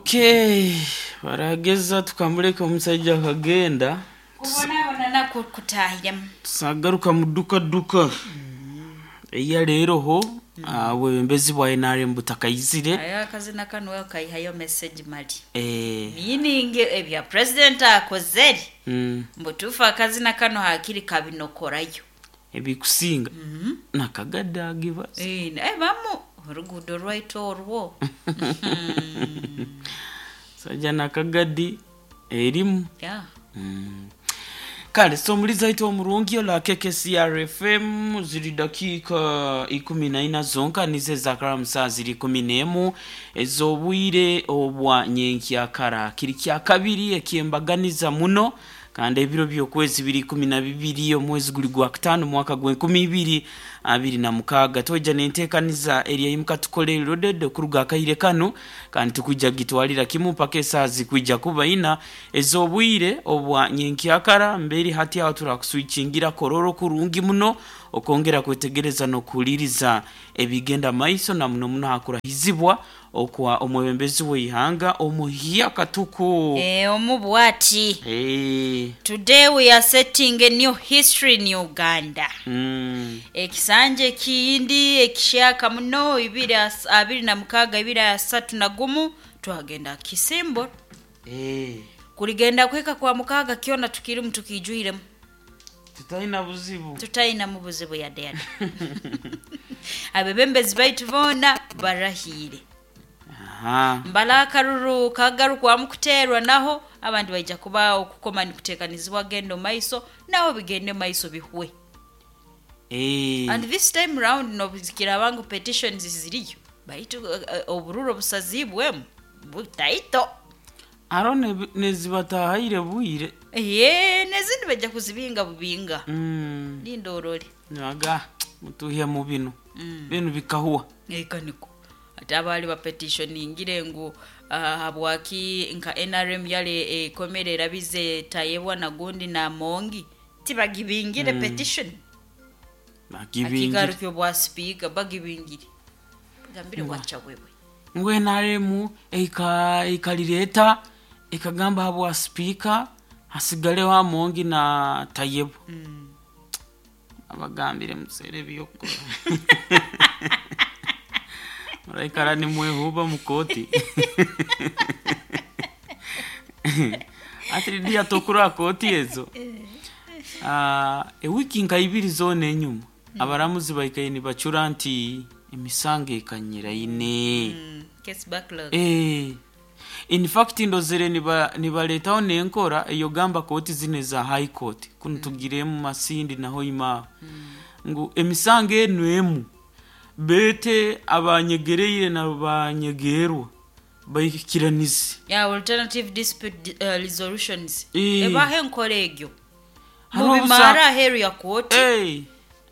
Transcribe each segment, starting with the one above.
Okay, barageza tukamuleka omusajja akagenda. Kubonabona nakwo kutahiremu. Tusagaruka mu duka duka eya leero ho obwebembezi bwa NRM butakaizire. Ayo akazina kanu wewe kaihayo message mali. Eh, Meaning ebya president akozere. Mbutuufu akazina kano hakiri kabinokorayo. Ebikusinga nakagadde agibaza. Eh, bamu oruguudo rwaitu orwo. Sajja nakagadi erimu. Yeah. Kale so omulizi aitu omurungi ola KKCRFM, ziri dakiika 14 zonka nizo ezakara saa ziri 11 ez'obwire obwa nyenkyakara, kiri kya kabiri ekyembaganiza muno, kandi ebiro by'okwezi biri 12 omwezi guli gwa kutaano mwaka gw'2026. Twija nenteekaniza eryayimuka tukole loaded okuruga akaire kanu, kandi tukwija gitwalira kimu mpaka esaaha zikwija kuba ina ez'obwire obwa nyenkyakara. Mberi hati aho turakuswikingira kororo kurungi muno okwongera kwetegereza n'okuhuliriza ebigenda maiso, na muno muno hakurahizibwa okwa omwebembezi w'eihanga omuhya katuku. Eh, omu bwati. Eh, Today we are setting a new history in Uganda. Ekisanja ekiyindi ekishyaka muno 2026 2031 twagenda Kisimbo. Eh, Kuligenda kweka kwa mukaaga kyona tukirimu tukijuiremu. Tutaina buzibu. Tutaina mu buzibu yadde yadde. Abebembezi baitu boona barahiire. Aha. Mbala akaruru kagarukwamu kuteerwa, naho abandi baija kuba okukoma nikuteekanizibwa genda maiso, naho bigende maiso bihwe. Eh, And this time round nobukiraba ngu petitions ziriyo, baitu obururu obusazibwemu butaito. Aro nezibatahaire bwire. Ye nezindi bajja kuzibinga bubinga. Linda orole. Naga mutuhya mu bino bino bikahuwa. Eka niko ate abaali bapetitioningire ngu habwaki nka NRM yale ekomere erabize Tayebwa nagundi na Mongi tibagibingire petition. Bagibingire. Akigarukyo bwa speaker bagibingire, gambire wacha wewe. Ngu NRM eikalireta ekagamba habwa sipiika hasigaleho Amongi na Tayebwa. Abagambire museere ebyokukora, muraikara nimwehuba mukoti ati dia tokura kooti ezo. Ewiki nka ibiri zoona enyuma abaramuzi baikaire nibacura nti emisango ekanyiraine. Case backlog. Eh, in fact ndozere nibaletaho nenkora eyogamba kooti zino eza high court kuno tugiremu Masindi naho imaho ngu emisango enu emu bete abanyegereire na banyegerwa baikiranize. Yeah, alternative dispute resolutions. Eh. Ebaho enkora egyo. Hariho mubimara aheeru ya kooti. Eh,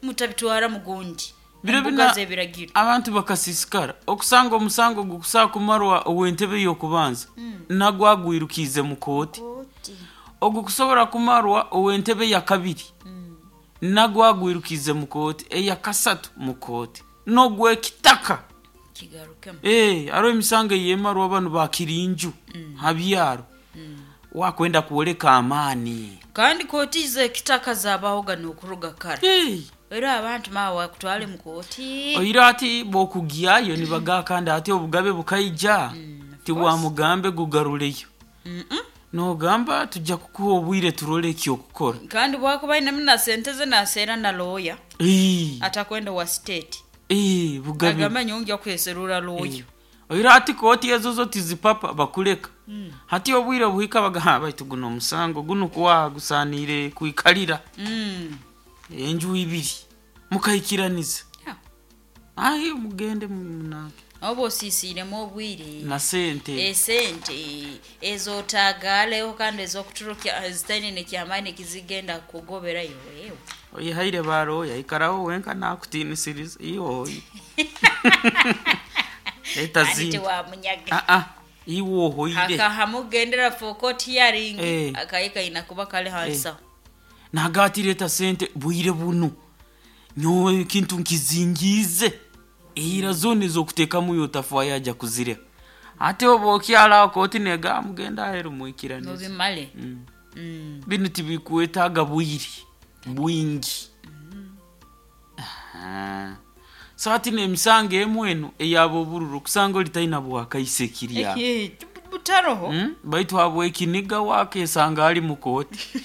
mutabitwara mugundi biro embuga bina z'ebiragiro. Abantu bakasisikara okusanga omusango gukusaa kumarwa ow'entebe y'okubanza nagwagwirukiize mu kooti, ogu kusobora kumarwa ow'entebe ya kabiri nagwagwirukiize mu kooti, eya kasatu mu kooti n'ogwekitaka. Kigarukemu. Eh, hariho emisango eyemarwa banu bakirinju habyaro wakwenda kwoleka amaani. Kandi kooti z'ekitaka zabahoga n'okuruga kare. Eh, era abantu mawe bakutwale mu kooti. Oira ati bwokugyayo nibagaa kandi ati obugabe bukaija tiwamugambe gugaruleyo. Nogamba tujja kukuha obwire turole ekyokukora. Kandi bwakuba ainemu na sente ze naseera na looya. Eh, atakwenda wa state. Eh, bugabe. Agamba nyongya kweserura looya. Oira ati kooti ezo zo tizipapa bakuleka hati obwire buhika bagaha baitu guno omusango guno kuwa gusanire kwikalira enju ibiri mukaikiraniza. Yeah. Ayi mugende munange. Oba osiisiiremu obwire na sente. Esente ezotagaleho kandi ezokuturukya zitaine nekyamaani ekizigenda kugoberayo wewe. Oyihaire baroya ikaraho wenka nakutinisiriza iwoyi leta Ani zindi. tewamunyaga. Ah, iwe ohoire. Akahamugendera for court hearing. Eh. Akaika inakuba kale hansa. Nagati leta sente bwire buno nyowe ekintu nkizingiize eira zona ezokutekamu yotafwayo aja kuzireka. Ate oba okyala kooti negamba mugende aheru mwikiranize. Mubimale. Binu tibikwetaaga bwire bwingi. Aha. So hati n'emisango emu enu eyaba obururu okusanga oli taina bwakaise kirya. Butaroho. Baitu habwekiniga wakesanga ali mu kooti.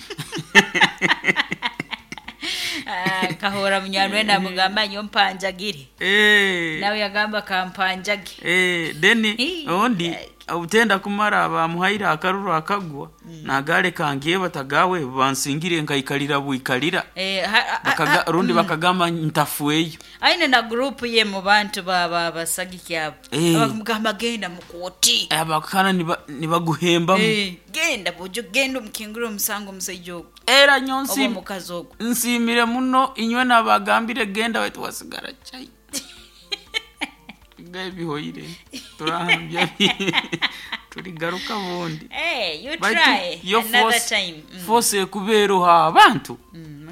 Ah, kahora munyanwe namugamba nyo mpanjagire. Nawe yagamba kampanjage. Then Hii. ondi obutenda kumara bamuhaire akaruru akagwa nagale kangiye batagawe bansingire nkaikalira bwikalira. Rundi bakagamba ntafueyo. Aine na group ye mu bantu baba basagiki abo. Abamugamba genda mu kooti. Abakana nibaguhembamu. Genda bujo genda omukingure omusango omusajja ogwo. Era nyo Oba omukazi ogwo. nsimire muno inywe nabagambire genda wetu wasigara chai. Bihoire turahambya tuligaruka bundi. Hey, you Baitu try yo another time. Force ekubeeroha abantu.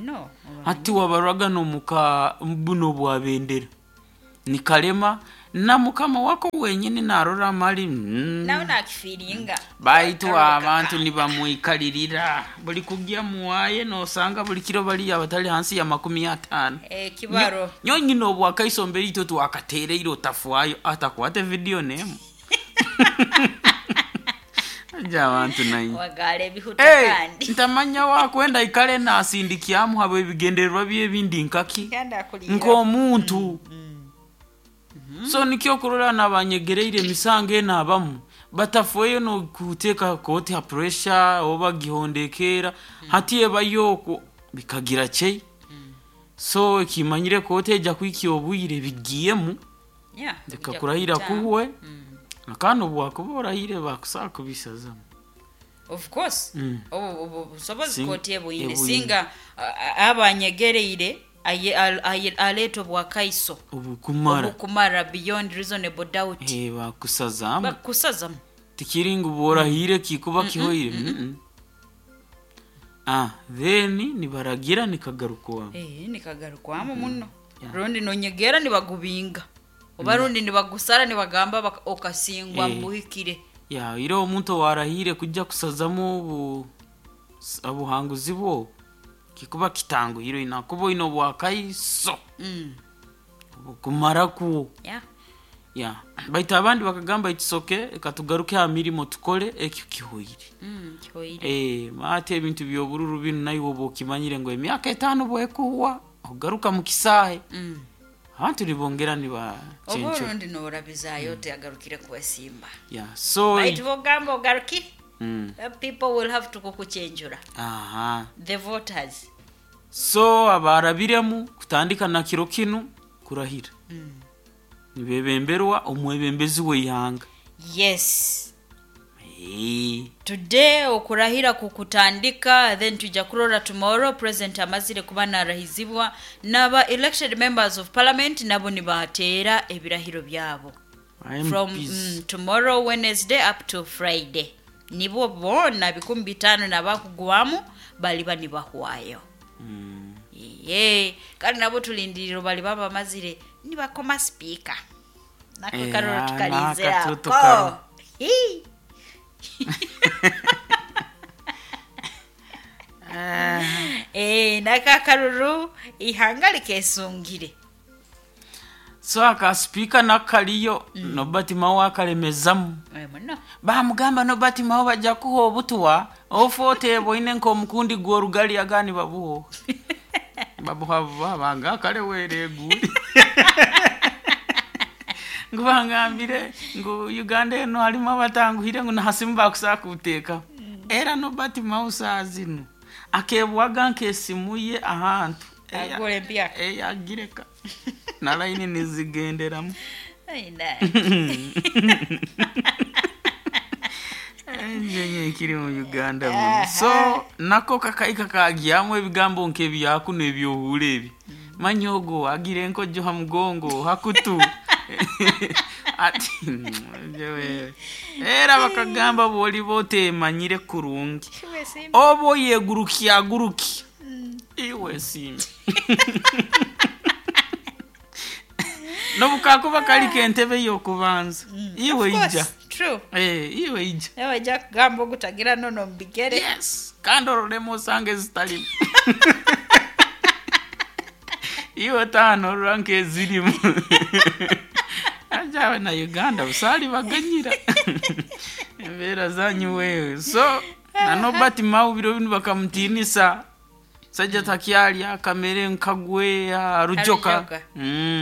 No. Hati wabarwaga nomuka buno bwabendera nikalema na mukama wako wenyini narora mali. Nawe nakifiringa. Baitu abantu nibamwikalirira buli kugya muwaye nosanga buli kiro bali abatali hansi ya 50. Kibaro. Nyo nyina obwakaiso mbere itwe twakatereire otafuayo atakwate video nemu. Aja abantu nayi. Wagale ebihuta kandi. Ntamanya wakwenda ikale nasindikyamu habo ebigendererwa byebindi nkaki. Kanda akulira. Nk'omuntu. So nikyo kurora nabanyegereire emisango eno abamu batafueyo nokuteeka kooti ha pressure oba gihondekera. Hati ebayo okwo bikagira chei. So ekimanyire kooti ejja kwikya obwire bigiyemu. Reka kurahira kuhwe. Akana obwakuba orahire bakusaa kubisazamu. Of course. Obu busobozi kooti ebwine. Ebwine. Singa abanyegereire aleeta obwakaiso. Obukumara. Obukumara beyond reasonable doubt. Bakusazamu. Bakusazamu. Tikiringu borahire kikuba kihoire. Then nibaragira nikagarukwamu. Nikagarukwamu muno. Rundi nonyegera nibagubinga. Oba rundi nibagusara nibagamba okasingwa mbuhikire. Ya, ira omuntu warahire kujja kusazamu obuhanguzi bwo kikuba kitanguhire inakuba ino bwakaiso. Obukumara ku. Ya. Baitu abandi bakagamba ikisoke katugaruke ha mirimo tukole ekyo kihoire. Kihoire. Mate ebintu by'obururu binu nayo obokimanyire ngo emyaka 5 bwekuwa ogaruka mu kisahe. Abantu nibongera niba chencho. Oburundi norabizayo teagarukire kubasimba. Yeah, so baitu bogamba ogaruki. People will have to kukuchenjura. The voters. So abarabiremu kutandika na kiro kinu kurahira. Nibebemberwa omwebembezi w'ihanga. Yes. Today okurahira kukutandika, then tuja kurora tomorrow president amazire kuba narahizibwa naba elected members of parliament nabo nibateera ebirahiro byabo. From tomorrow Wednesday up to Friday. Nibo bona 5,000 nabakugwamu baliba nibahwayo. Kandi nabo tulindiriro baliba bamazire nibakoma speaker. Nako karoro tukalizera. Naka Nakakaruru ihanga likesungire. So aka speaker nakaliyo Nobert Mao akalemezamu. Bamugamba Nobert Mao bajja kuha obutwa ofote boine nko omukundi gworugali agani babuho. Babuha babanga kale were guli. Ngubangambire ngu Uganda eno halimu abatanguhire ngu nahasimu bakusaa kuteeka. Era Nobert Mao saazino akebwaga nkesimu ye ahantu. Agore mpya. Agireka. Na line nizigenderamu. Njenye kiri mu Uganda muno. So nako kakaika kagyamu ebigambo nk'ebyakuno ebyohura ebi. Manyogo agire enkojo ha mugongo hakutu. Ati jewe. Era bakagamba boli bote manyire kurungi. Obo yeguruki aguruki. Iwe simbi. Nobukakuba kali kentebe yokubanza. Iwe ija. True. Eh, iwe ija. Nawe ajja kugamba ogutagira nono mu bigere. Yes, kandi ororemu osanga ezitalimu. Iwe taano orora nk'ezirimu. Ajawe na Uganda busaali baganyira embeera zanyu wewe. So na Norbert Mao biro binu bakamutiinisa, sajja takyalya kamere nkagwe arujoka. Arujoka.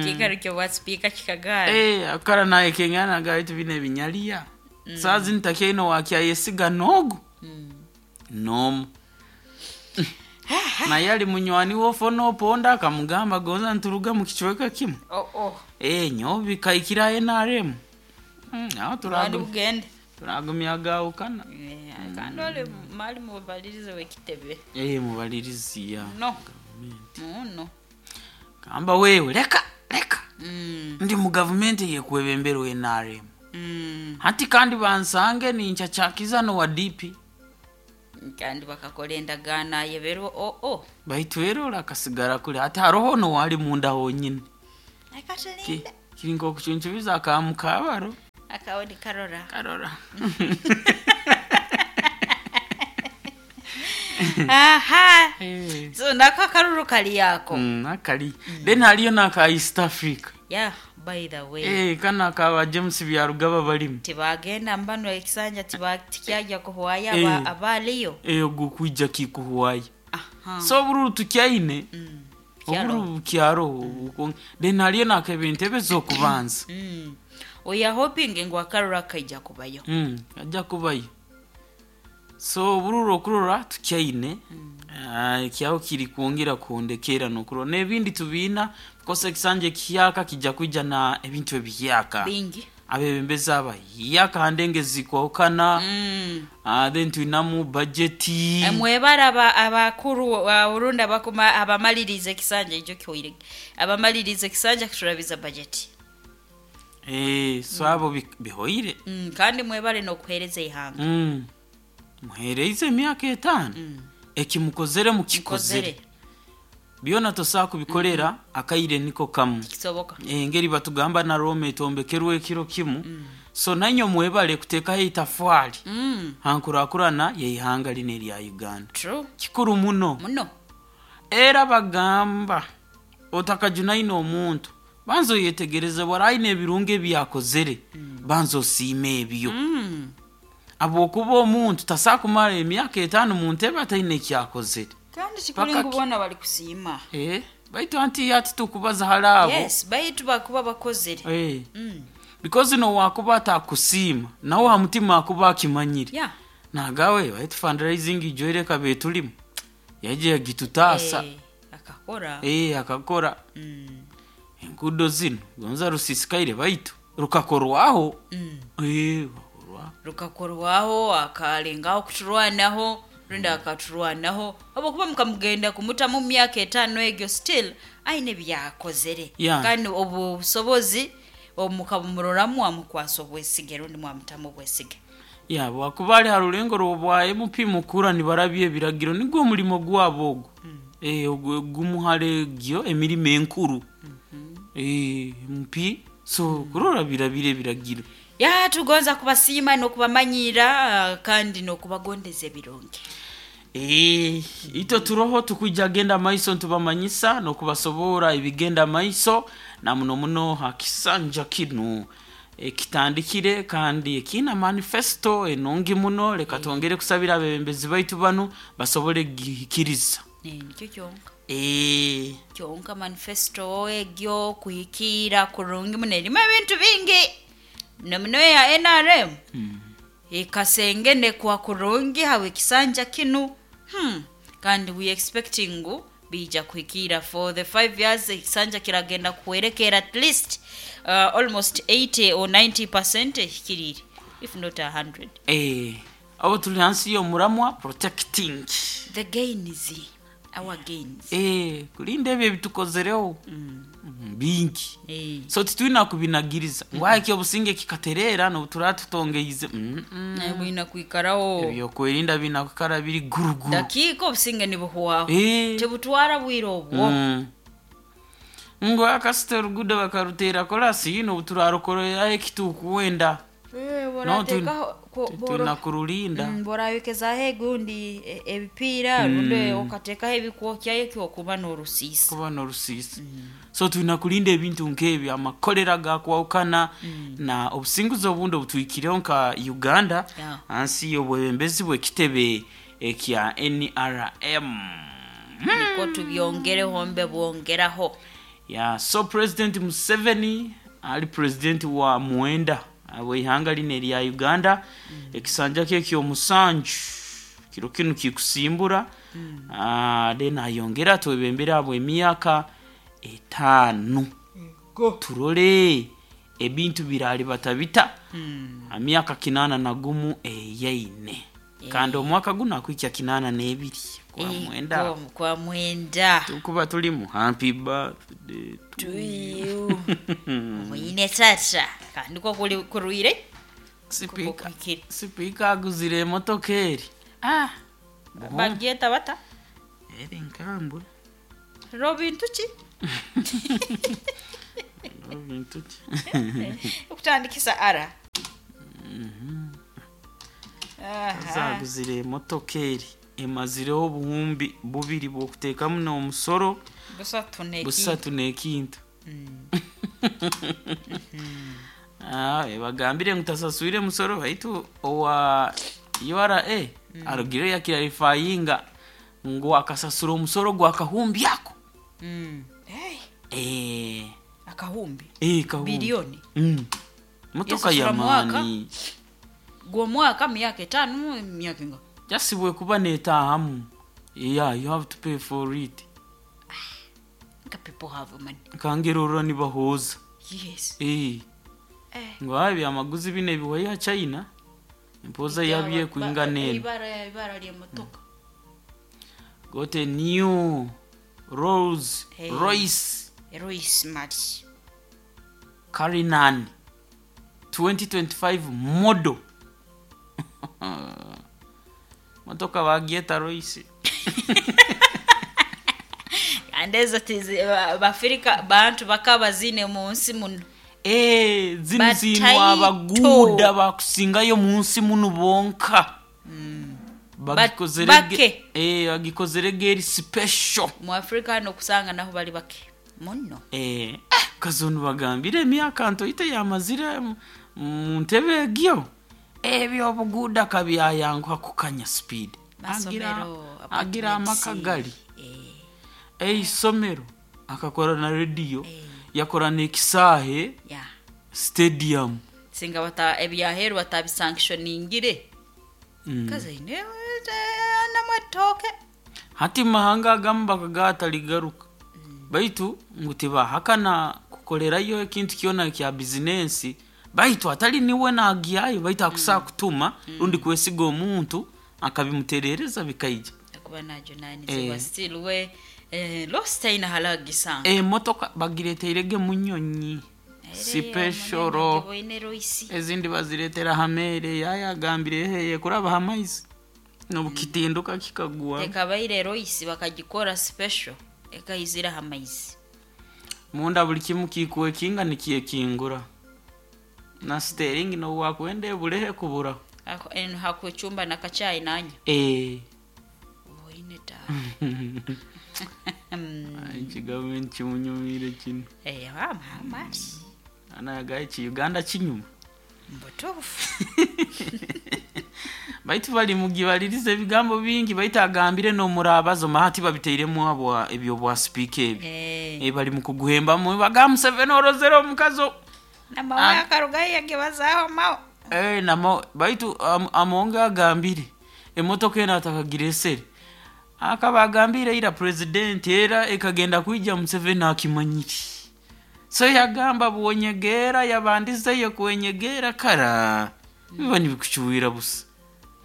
Kiikaro kyobwa sipiika kikagaana. Eh, akara naye kengana gaitu bino ebinyaliya. Saa zinu takyaine wakyayesiga n'ogu n'omu. Naye ali munywani wofo n'oponda akamugamba gonza nturuga mu kicweka kimu. Oh, oh. Eh, nyowe bikaikira NRM. Aho Mwali bugende. turagumya gawukana. Eh, kandi oli mali mubalirize w'ekitebe. Eh, mubalirizi ya. No. Muno. Gamba wewe leka leka. Ndi mu gavumenti yekwebemberwa NRM. Hati kandi bansange nincacakiza nowa DP. Kandi bakakola endagaano ayeberwa oo. Baitu era akasigara kuli hati haroho nowali munda honyine. Akatulinda. Kiri nk'okucuncubiza akamukabaro. Akawoni karora. Karora. Aha. Eh. So nako akaruru kali yako. Akali. Then haliyo n'aka East Africa. Yeah, by the way. Eh, kana akaba James Byarugaba balimu. Tibagenda mbano ekisanja tikyajja kuhwaya Eh. abaaliyo. Eh, ogwo kwija kikuhwaya. Aha. So obururu tukyaine. Kyaro. Obururu kyaro. Then haliyo n'akeba entebe z'okubanza. We are hoping ngu akaruru akaija kubayo. Ajja kubayo. So obururu okurora tukyaine. Ekyaho kiri kwongera kuhondekera n'okurora n'ebindi tubiina because ekisanja ekiyaka kijja kwija na ebintu ebiyaka. Bingi. Abebembezi abayaka handenge zikwahukana. Then twinamu bajeti. Mwebara abakuru Burundi abakuma abamaliriza ekisanja ekyo kihoire. Abamaliriza ekisanja kiturabiza bajeti. Eh, so abo bihoire. Kandi mwebare n'okuhereza ihanga. Muhereize emyaka 5. Ekimukozere mukikozere. Mukozere. Byona tosobola kubikolera akaire niko kamu. Kisoboka. Engeri batugamba na Rome etombekerwa ekiro kimu. So nanyo mwebale kuteekaho itafwali. Hankurakurana yeihanga lino erya Uganda. True. Kikuru muno. Muno. Era bagamba otakajunaine omuntu banza oyetegereze bwara aine ebirungi ebyakozere. Banza osiime ebyo. Habwokuba omuntu tasobola kumara emyaka 5 mu ntebe ataine ekyakozere. Kandi kikuri Paka ngu bona bali kusiima. Eh, baitu anti ati tukubaza hali abo. Yes, baitu bakuba bakozere. Eh. Because no wakuba atakusiima nawe ha mutima akuba akimanyire. Yeah. Nagawe baitu fundraising ijoire kabe tulimu. Yaje yagitutaasa. Eh, akakora. Eh, akakora. Enguudo zino gonza rusisikaire baitu rukakorwaho. Eh, rukakorwaho. Rukakorwaho akalengaho kuturwanaho rundi akaturwanaho habwokuba mukamugenda kumutamu myaka 5 egyo still aine byakozere. Yeah. Kandi obu busobozi omukabumuroramu amukwasa obwesige rundi mwamutamu obwesige. Ya, bwakuba ali ha rulengo rw'obwa MP mukura nibarabya ebiragiro nigwo omulimo gwabo ogwo. Eh, ogwo gumuhare gyo emirimo enkuru. Eh, MP so kurora birabire ebiragiro. Ya, tugonza kubasiima n'okubamanyira kandi n'okubagondeza ebirungi. Eh, ito turoho tukujja genda maiso ntubamanyisa n'okubasoboora ebigenda maiso na muno muno hakisanja kinu ekitandikire kandi ekiina manifesto enungi muno. Leka twongere kusabira abebembezi baitu banu basobole gihikiriza. Nikyo kyonka. Eh. Kyonka manifesto egyo kuhikira kurungi muno erimu ebintu bingi. Muno ya NRM. Ekasengene kwa kurungi hawe kisanja kinu. Kandi we expecting ngu bija kuhikira for the 5 years ekisanja kiragenda kuwerekera at least almost 80 or 90% ehikirire if not 100. Eh, abo tuli hansi y'omuramwa protecting the gains, our gains. Eh, kulinda ebyo ebitukozereho. Bingi. Eh. So titwina kubinagiriza ngwaki obusinge kikaterera n'obutura tutongeize. Naye bwina kwikaraho. Ebyokwerinda bina kukara biri guruguru. Dakiika obusinge nibuhwaho. Eh. Tebutwara bwire obwo. Ngo akasita orugudo bakarutera korasi yino obuturarukorera ekitukuwenda. No, tulina kurulinda. Borayokezaho egundi ebipiira rundi okateekaho ebikwokyayo kyokuba n'orusiisa. Kuba n'orusiisa. So tulina kulinda ebintu nk'ebyo, amakolera gakwawukana na obusinguzi obundi obutwikireho nka Uganda hansi y'obwebembezi bw'ekitebe ekya NRM. Niko tubyongereho mbe bwongeraho. Yeah, so President Museveni ali president wa mwenda w'ihanga lino erya Uganda. Ekisanja kye ky'omusanju kiro kinu kikusimbura. Then ayongera twebembera abo emyaka 5. Turole ebintu birali batabita emyaka 81 eyaine. Kandi omwaka guno akwikya 82 kwa mwenda. Kwa mwenda. Tukuba tulimu happy birthday to you. Omuyine tata. Kandi ko kuli kuruire? Sipika. Sipika aguzire emotoka eri. Ah. Bagyeta bata? Eri nkambwe. Robin tuki? Robin tuki? Okutandikisa ara. Azaguzire emotoka eri. Emazireho obuhumbi bubiri bw'okuteekamu n'omusoro busatu n'ekintu. Bagambire ngu tasaswire musoro baitu owa URA arugire yakirarifayinga ngu akasasura omusoro gwa kahumbi ako. Akahumbi? Kahumbi. Bilioni? Motoka ya maani. Gw'omwaka myaka 5 myaka inga. Jasibwe kuba netahamu. Yeah, you have to pay for it. Nka people have money. Kangerora nibahoza. Yes. Ngo habi amaguzi bine biwa China. Impoza yabye kuingana eno. Ibara lya motoka. Got a new Rolls Royce. Royce Mari. Cullinan 2025 model. Motoka bagyeta Royce. Andezo tizi Bafrika bantu bakaba zine mu nsi muno. Zino zino abaguda bakusingayo mu nsi muno bonka. Bagikozere geri special. Mu Afrika no kusanga naho bali bake muno. Kazonu bagambire emyaka ntoite yamazire mu ntebe egyo. Ebyo obuguda kabyayanguha kukanya speed. Agira amakagali. Isomero akakora na radio. Yakora n'ekisahe. Stadium. Singa bata ebyaheru batabisanctioningire. Kaze ine namatoke. Hati mahanga agamba kagataligaruka. Baitu ngu tibahakana kukolerayo ekintu kyona kya business. Baitu atali niwe nagiyayo baitu akusaa kutuma rundi kwesiga omuntu akabimuterereza bikaija. Akuba najunanizibwa still we lost ina halagisanga. Motoka bagireteirege munyonyi. Special. Ezindi baziretera hamere yayagambire heye kuraba hamaizi. Nobukitinduka kikagwa. Ekabaire Royce bakagikora special ekayizira hamaizi. Munda buli kimu kikuwe kinga nikiyekingura. Na steering no wakwende bulehe kubura. Ako en hakuchumba na kachai nanya. Oine ta. Ai government chimunyumire chino. Mama. Ana gayi chi Uganda chinyuma. Mbutufu. Baitu bali mugibalirize ebigambo bingi baitu agambire no murabazo mahati babiteiremu abo ebyo bwa speak ebi. Bali mukuguhemba mu baga Museveni orozero omukazo. Na mawe akarugayi yagebazaho mawo. Namo baitu amonga agambire emotoka ena atakagira esere. Akabagambire ira president era ekagenda kuija Museveni akimanyiri. So yagamba buonyegera yabandizeyo kwenyegera kara. Biba nibikuchuwira busa.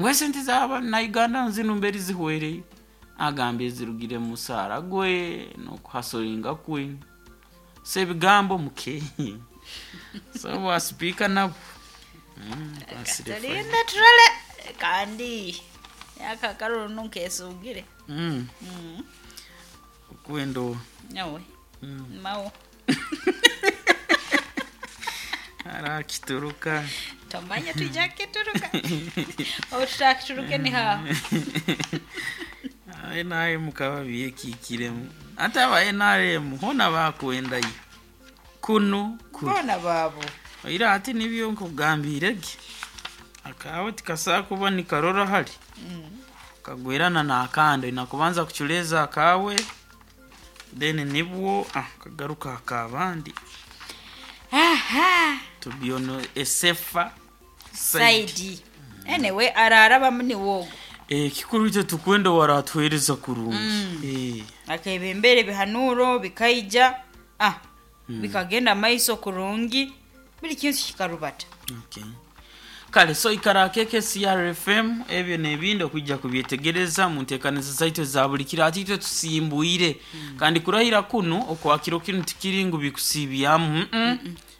Ngwe sente zaba na Uganda nzino mberi zihwereye. Agambe zirugire musara gwe no kuhasoringa kwe. Se bigambo muke. So wa speaker nabo. Tulinda turale kandi yakakaruru nunkesugire. Kwendo. Nawe. Mawo. Ara kituruka. Tomanya twija kukituruka obu tutakituruke ni haho. NRM kaba byekikiremu ate aba NRM hona bakwendayo kunu kuri Boona baabo. Oira ati nibyo nkugambire ge akawe tikasaa kuba nikarora hali kagwerana n'akandi oina kubanza kuculeeza akawe, then nibwo kagaruka akabandi. Aha. To be on a safer side. Side. Anyway, ararabamu niwogo. Kikuru itwe tukwenda waratuhereza kurungi. Akebembere bihanuro bikaija, bikagenda maiso kurungi, buli kintu kikarubata. Okay. Kale so ikara keke CRFM ebyo n'ebindi okwijja kubyetegereza mu nteekaniza zaitu eza buli kiro ati itwe tusimbuire. Kandi kurahira kunu okwakiro kinu tikiri ngu bikusiibyamu.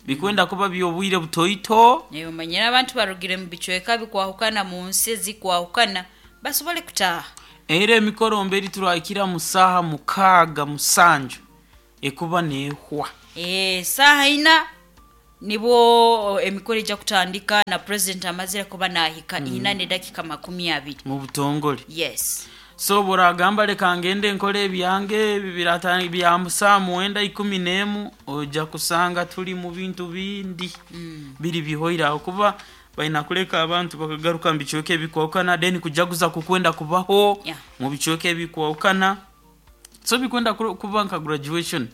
Bikwenda kuba by'obwire butoito. Naye omanyire abantu barugire mu bicweka bikwahukana mu nsi ezikwahukana basobole kutaaha. Era emikoro mberi turahikira mu saaha 6, 7 ekuba neehwa. Saaha 4 nibwo emikoro ejja kutandika na president amazire kuba nahika 4:20. Mu butongole. Yes. So buragamba leka ngende nkole ebyange ebi bya saa 9, 11 ojja kusanga tuli mu bintu bindi. Biri bihoire aho kuba balina kuleka abantu bakagaruka mu bicweka ebikwahukana then kujaguza kukwenda kubaho mu bicweka ebikwahukana. So bikwenda kuba nka graduation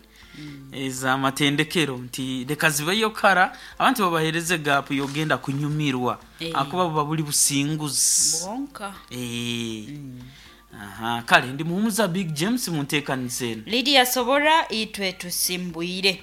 ez'amatendekero nti leka zibeyo kara abantu babahereze gap yogenda kunyumirwa. Akuba buba buli businguzi. Bwonka. Aha, kale ndi muhumuza Big James mu nteekaniza eno. Lydia Sobora itwe tusimbwire.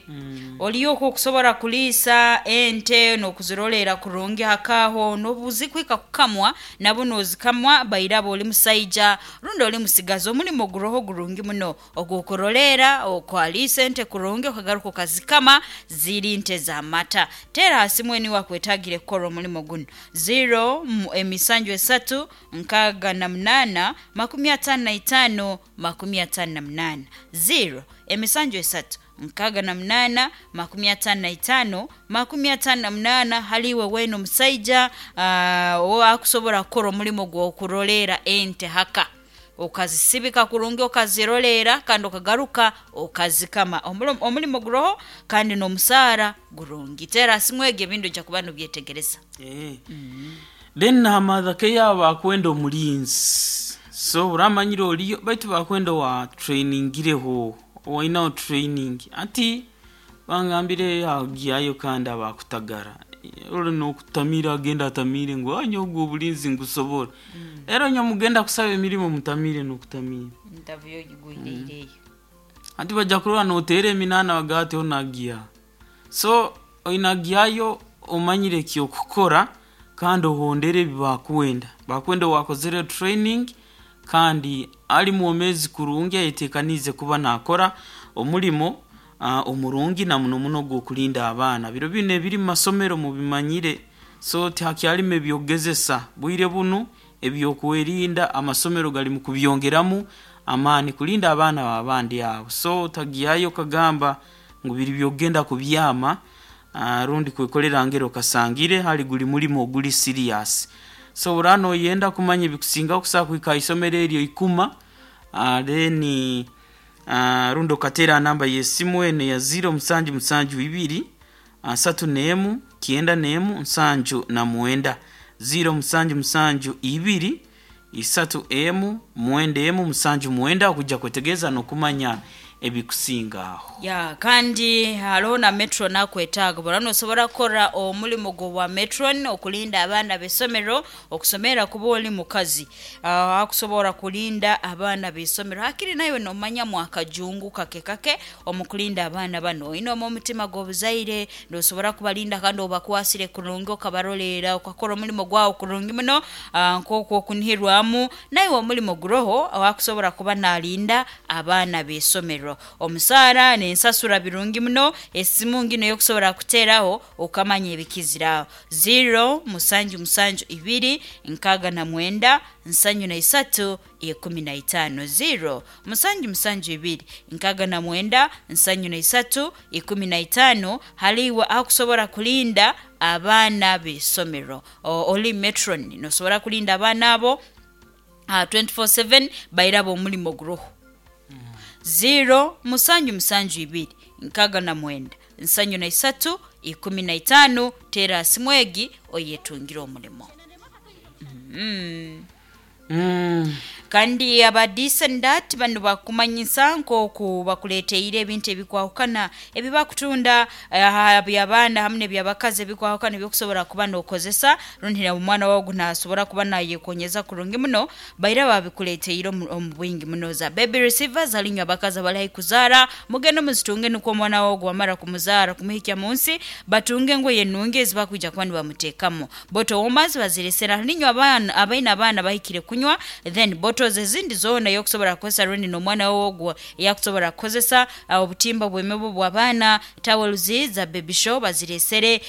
Oliyo okusobola kuliisa ente n'okuzirolera kurungi hakaho n'obuzikwika kukamwa nabo n'ozikamwa bairaba oli musaija rundi oli musigazi omulimo guroho gurungi muno ogw'okurolera okwaliisa ente kurungi okagaruka okazikama ziri nte z'amata. Teera hasi mwene wakwetagire kukora omulimo guno. 0 emisanju esatu nkaaga na munaana makumi ataano na itaano makumi ataano na munaana. 0 emisanju esatu nkaaga na munaana makumi ataano na itaano makumi ataano na munaana. Haliwe wena omusaija owakusobora kukora omulimo gw'okurolera ente haka okazisibika kurungi okazirolera kandi okagaruka okazikama. Omulimo guroho kandi n'omusaara gurungi. Teera simwege ebintu ojja kuba nobyetegereza. Then nahamadha ke yaba akwenda omulinzi. So uramanyire oliyo baitu bakwenda wa trainingireho owainaho training ati bangambire agiyayo kandi abakutagara ori nokutamira agenda atamire ngu anyo ogwo obulinzi ngusobora. Era onyo mugenda kusaba emirimo mutamire nokutamira. Ndavuyo gigwireireyo. Ati bajja kurora noteera eminaana bagati onagiya. So oinagiyayo omanyire ekyokukora kandi ohondere ebi bakwenda. Bakwenda wakozere training kandi ali mwomezi kurungi ayetekanize kuba nakora omulimo omurungi na muno muno gw'okulinda abaana. Biro bino ebiri mu masomero mubimanyire, so tihakyalimu ebyokugezesa bwire bunu ebyokwerinda amasomero gali mu kubyongeramu amaani kulinda abaana babandi abo. So tagiyayo kagamba ngu biri byogenda kubyama rundi kwekolera ngero kasangire hali guli mulimo oguli serious. So urano oyenda kumanya ebikusinga okusobola kuhika isomero eryo ikuma, then rundi okateera namba y'esimu eno ya 0 musanju musanju ibiri, 31 91 79. 0 musanju musanju ibiri, isatu emu, mwenda emu, musanju mwenda okujja kwetegereza n'okumanya ebikusinga aho. Ya, kandi hariho na metron akwetaaga bora nosobora kukora omulimo gw'obwa metron okulinda abaana b'essomero okusomera kuba oli mukazi. Akusobora kulinda abaana b'essomero hakiri nawe nomanya mwakajungu kake kake omu kulinda abaana bano oine omu omutima gw'obuzaire nosobora kubalinda kandi obakwasire kurungi okabarolera okakora omulimo gwawe kurungi muno, nk'okwo okunihirwamu nawe omulimo guroho awakusobora kuba nalinda abaana b'essomero. b'eisomero. Omusaara n'ensasura birungi muno, esimu nginu ey'okusobora kuteeraho okamanya ebikizire aho, ziro musanju musanju ibiri nkaaga na mwenda nsanju na isatu ikumi na itaano, ziro musanju musanju ibiri nkaaga na mwenda nsanju na isatu ikumi na itaano. Hali iwe akusobora kulinda abaana b'eisomero, oli metron nosobora kulinda abaana abo 24/7 bairaba omulimo guroho. Ziro musanju musanju ibiri nkaaga na mwenda nsanju na isatu ikumi na itaano, teera ha simu egi oyetungire omulimo. Kandi aba This&That banu bakumanyisa nk'oku bakuleeteire ebintu ebikwahukana ebi bakutunda aha by'abaana hamu n'eby'abakazi ebikwahukana eby'okusobora kuba n'okozesa rundi omwana waawe ogu naasobora kuba naayekonyeza kurungi muno. Baira babikuleeteire omu bwingi muno. Za baby receivers hali inywe abakazi abali haihi kuzaara, mugende muzitunge nukwo omwana waawe ogu wamara kumuzaara kumuhikya mu nsi batunge engoye enungi ezi bakwija kuba nibamuteekamu. Bottle warmers bazireesere hali inywe abaana abaine abaana bahikire kunywa, then bottles ezindi zoona ey'okusobora kukozesa rundi n'omwana waawe ogu eyakusobora kukozesa, obutimba bw'emibu bw'abaana, towels za baby shower bazireesere,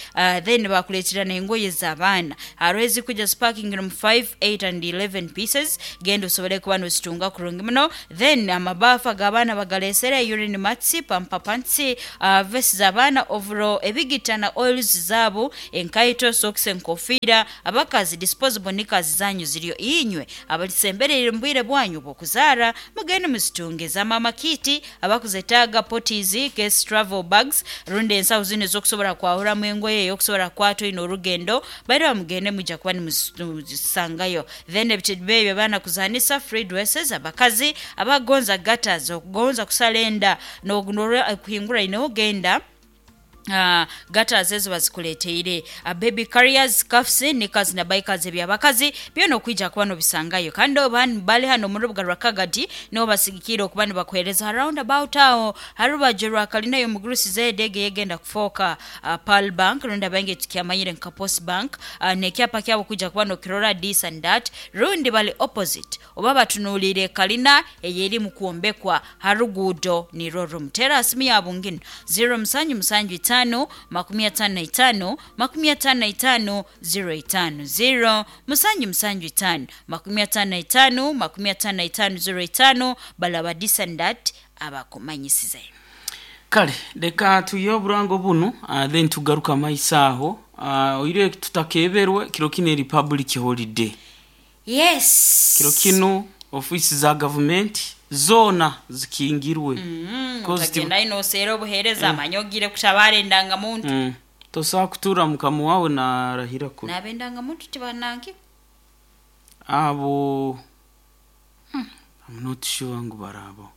then bakuleetera n'engoye z'abaana. Haroho ezikwija zipakingire omu 5, 8 and 11 pieces, genda osobole kuba noozitunga kurungi muno. Then amabaafu ag'abaana bagaleesere, urine mats, pamper pants, vest z'abaana, overall, ebigita na oils zaabo, enkaito, socks, enkofiira, abakazi disposable knickers zanyu ziriyo. Inywe abalisembereire omu bwire bwanyu obw'okuzaara mugende muzitunge. Za maama kit abakuzetaaga, potties, case travel bags rundi ensaho zinu ez'okusobora kwahuramu engoye ey'okusobora kukwata oine orugendo, bairaba mugende mwija kuba nimuzisangayo. Then ebitebe ebyo abaana kuzaanisa, free dresses, abakazi abakugonza gutters, okugonza kusala enda norora ekuhinguraine ogenda, gutters ezo bazikuleeteire. Baby carriers, scarfs, knickers na bikers eby'abakazi byona okwija kuba nobisangayo. Kandi bali hanu omu rubuga rwa Kagadi niho basigikiire okuba nibakuheereza ha round about aho ha rubaju rwa kalina y'omugurusi ZED egi eyegenda kufooka Pearl Bank rundi abaingi tukyamanyire nka Post Bank, n'ekyapa kyabo kwija kuba nokirora this and that, rundi bali opposite oba batunuuliire kalina ey'erimu kwombekwa ha ruguudo nirwo rumu. Teera ha simu yaabu nginu, ziro musanju musanju itaano 55 55 05, ziro musanju musanju itaano 55 55 05, balaba this and that abakumanyisize. Kale leka twihe oburango bunu, then tugaruke amaiso aho. Oire tutakeberwe, kiro kinu eri public holiday. Yes. Kiro kinu ofiisi za gavumenti zoona zikingirwe. 'Cause Otagenda noseera obuheereza manya ogiire kutabaara endangamuntu. Tosobola kutuura mukama wawe narahira kubi. N'abendangamuntu tibananki. Abo I'm not sure ngu barabaho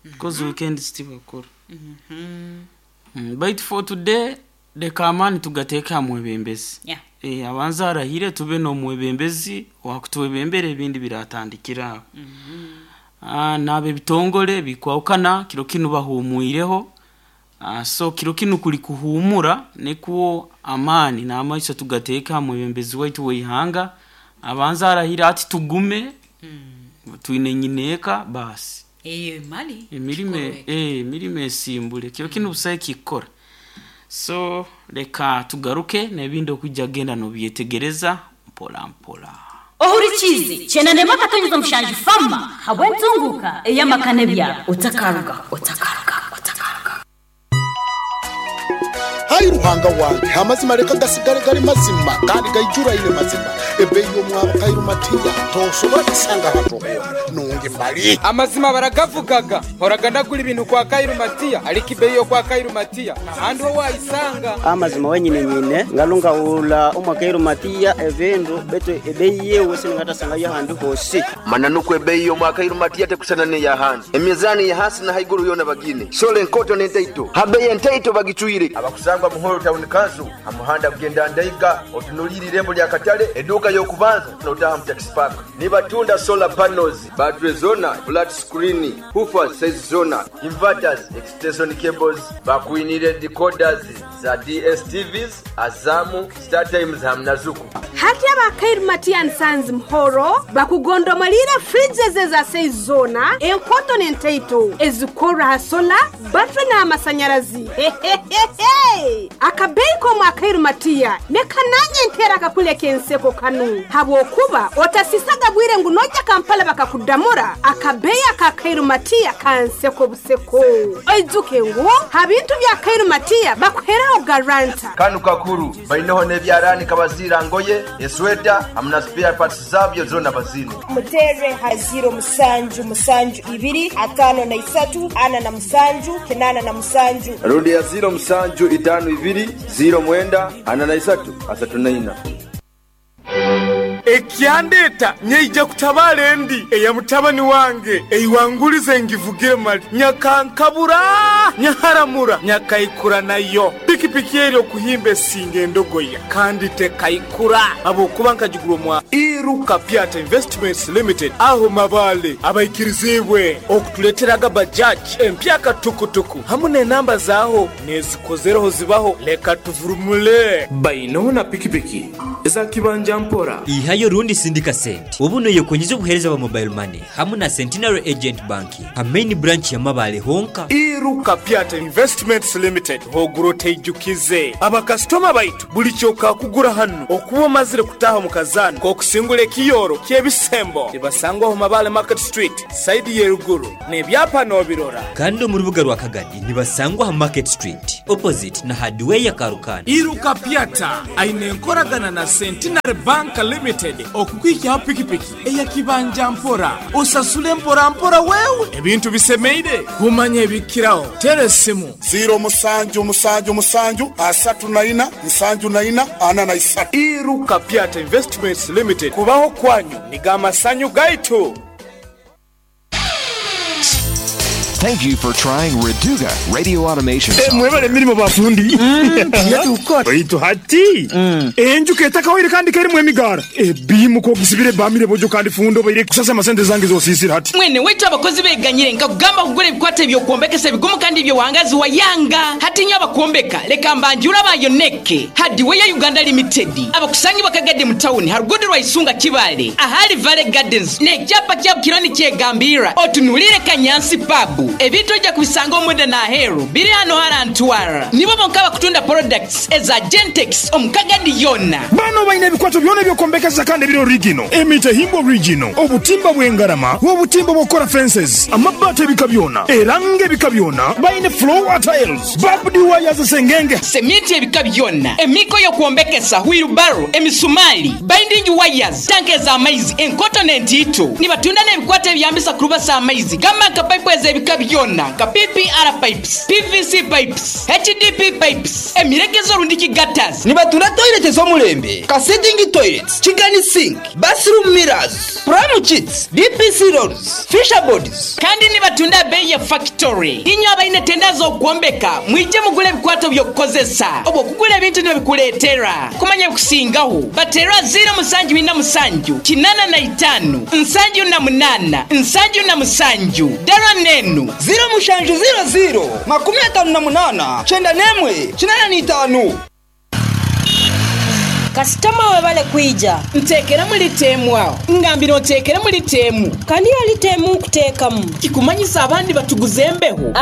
because weekends tibakora. Baitu for today leka amaani tugateeke ha mwebembezi. Abanze arahire tube n'omwebembezi owakutwebembera ebindi biratandikira aho. N'ab'ebitongole bikwahukana kiro kinu bahuumwireho. So kiro kinu kuli kuhuumura nikwo amaani n'amaiso tugateeke ha mwebembezi waitu w'eihanga abanze arahire ati tugume twine nyineeka baasi. Eyo mali. Emirimo Kikorwa eki. Emirimo esimbule kiro kinu busaho ekikukora. So leka tugaruke n'ebindi okwija kugenda nobyetegereza mpora mpora. Ohurikiize kyenda akatonyeza mushanju fama habw'entunguka ey'amaka n'ebyaro. Otakaruga, otakaruga, otakaruga. Ai Ruhanga wange, amazima leka gasigale gali mazima kandi gaijuraine mazima. Ebeeyi y'omwabo Kairu Matiya tosobora kusanga hantu hoona nungi mali. Amazima baragavugaga mporaga ndagura ibintu kwa Kairu Matiya, ariko ibeyi yo kwa Kairu Matiya ahandi ho wayisanga. Amazima wenyine nyine ngalungahula omwa Kairu Matiya ebindu betu ebeyi yewe siningatasanga ahandi hosi. Mana nuko ebeyi y'omwa Kairu Matiya tekusana n'eyahandi, emizani ya hasi na haiguru yona bagine sole enkoto n'entaito habeyi entaito bagicwire. Abakusangwa Muhoro Town Council amuhanda kugenda Ndaiga otunulire irembo lya katale eduka yo. y'okubanza notaha mu taxi park. Nibatunda solar panels, battery zona, flat screen, woofers size zona, inverters, extension cables, bakuinire decoders za DSTVs, Azamu, Star Times hamwe na Zuku. Hati abakairu Matiya Nsanzi Muhoro bakugondomalira fridges eza size zona, enkoto n'entaito ezikora ha sola, battery n'amasanyarazi. Akabeyi k'omu akairu Matiya nekananye ntera akakuleka enseko kanu, habwokuba otasisaga bwire ngu nojja Kampala bakakudamura. Akabeyi akakairu Matiya kanseko buseko. Oijuke ngu habintu bya Kairu Matiya bakuheraho garanta. Kanu kakuru baineho n'ebyarani kabazira ngoye esweta hamwe na spare parts zabyo zona bazine. Mutere ha 0772 53 47 87. Rundi ya 0752 09 43 34. Ekyandeta nyeija kutabala endi eya mutabani wange eiwangulize ngivugire mali nyakankabura nyaharamura nyakaikura nayo pikipiki eri okuhimba esinga endogoya kandi tekaikura abokuba nkagigura mwa Iruka Piata Investments Limited aho mabale abaikirizibwe okutuleteraga bajaji empyaka tukutuku hamwe n'enamba zaho nezikozereho zibaho leka tuvurumule baino na pikipiki eza kibanja mpora. Ihayo rundi sindika sente obuno yekonyeza obuhereza bwa mobile money hamwe na Centenary Agent Banking ha main branch ya Mabale honka. Iruka Piata Investments Limited hoguro teijukize abakastoma baitu buli kyoka kugura hano okuba omazire kutaha mu kazana kokusingula ekiyoro kyebisembo tibasangwa ho Mabale Market Street side yeruguru nebyapa nobirora. Kandi mu rubuga rwa Kagadi nibasangwa ha Market Street opposite na hardware ya Karukana. Iruka Piata aine enkoragana na Centenary Bank Limited okukwikyaho pikipiki eyakibanja mpora osasule mpora mpora wewe ebintu bisemeire kumanya ebikiraho tere simu 0777 34 74 43. Iruka Piata Investments Limited kubaho kwanyu nigamasanyu gaitu. Thank you for trying Reduga Radio Automation. Mwebale mirimo bafundi. Baitu hati. Enjuka etakawaire kandi kerimu emigara. Ebimu ko gisibire bamire bojo kandi fundo baire kusasa amasente zange zosisira hati. Mwene wetu abakozi beganyire nkakugamba kugura ebikwate ebyokuombekesa ebigumu kandi ebyowangazi wa yanga. Hati nyo abakuombeka leka mbanjura bayoneke. Hardware Uganda Limited. Abakusangi bakagade mu town harugudu rwa Isunga Kibale. Ahali Valley Gardens. Ne kyapa kya kironi kyegambira. Otunulire Kanyansi Pub. Ebintu ojja kubisanga omwenda n'aheeru biri hano harantwara nibo bonka bakutunda products eza Gentex omukagadi yonna. Bano balina ebikwato byonna ebyokuombekesa kandi ebiri original, emitahimbwa original, obutimba bw'engarama, obutimba bw'okukola fences, amabaati ebika byonna, eranga ebika byonna, balina floor tiles, barbed wires sengenge, semiti ebika byonna, emiko y'okuombekesa, wheelbarrow, emisumali, binding wires, tanke ez'amaizi, enkoto n'entiito. Nibatunda n'ebikwato ebyambisa kurubasa amaizi gamba nka pipe ez'ebika byonna ka PPR pipes, PVC pipes, HDP pipes, emiregezo rundiki gutters. Nibatunda toilet ez'omulembe, ka sitting toilets, chicken sink, bathroom mirrors, pram sheets, DPC rolls, fisher boards. Kandi nibatunda bei ya factory. Inyo abaine tenda z'okwombeka, mwije mugule ebikwato by'okukozesa. Obwo kugula ebintu nibikuleetera. Kumanya kusingaho. Batera 0747 85 78 77. Dara nenu 0700 58 91 85. Kasitoma webale kwija. Ntekera muri temu aho. Ngambira ntekera muri temu. Kandi yali temu kutekamu. Kikumanyisa abandi batuguzembeho.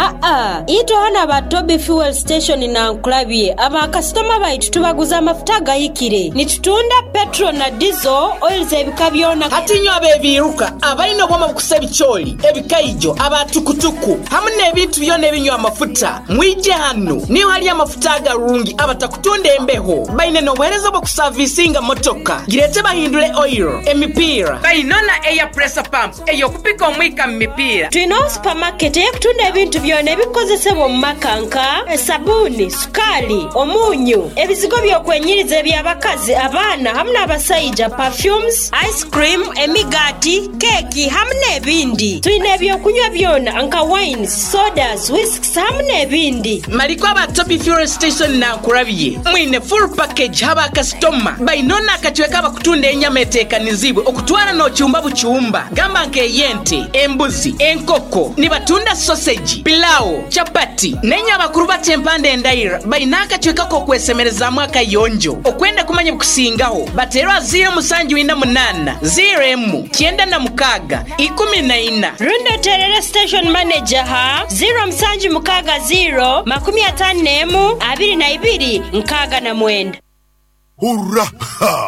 Ito hana ba Toby Fuel Station na Nkulabye. Aba kasitoma baitu tubaguza amafuta gayikire. Nitutunda petrol na diesel oils ebika byona. Hati nyo abebiruka abalina obwoma bukusa ebicholi, ebikaijo, abatukutuku hamwe n'ebintu byona ebinywa amafuta. Mwije hano. Niyo hali amafuta agarungi abatakutunda embeho. Baine n'obuheereza bw'okusa visinga motoka girete bahindule oil emipira bainona air pressure pump eyokupika omwika mu mipira. Tulina supermarket eyekutunda ebintu byona ebikozesebwa omu maka nka esabuni, sukali, omunyu, ebizigo byokwenyiriza eby'abakazi, abaana hamwe n'abasaija, perfumes, ice cream, emigati, keki hamwe n'ebindi. Tulina ebyokunywa byona nka wines, sodas, whisks hamwe n'ebindi. Maliko aba Toby Fuel Station na Nkurabye mwine full package haba kasitoma. Kakoma baine n'akacweka abakutunda enyama eteekanizibwe okutwara n'ocumba bucumba gamba nk'eyente, embuzi, enkoko, nibatunda sausage, pilau, chapati n'enye abakuru baca empanda endaira baine akacweka k'okwesemerezaamu akayonjo. Okwenda kumanya ebikusingaho bateerwa 0748 01 96 14. Rundi oterere station manager ha 0760 51 22 69. Hurra!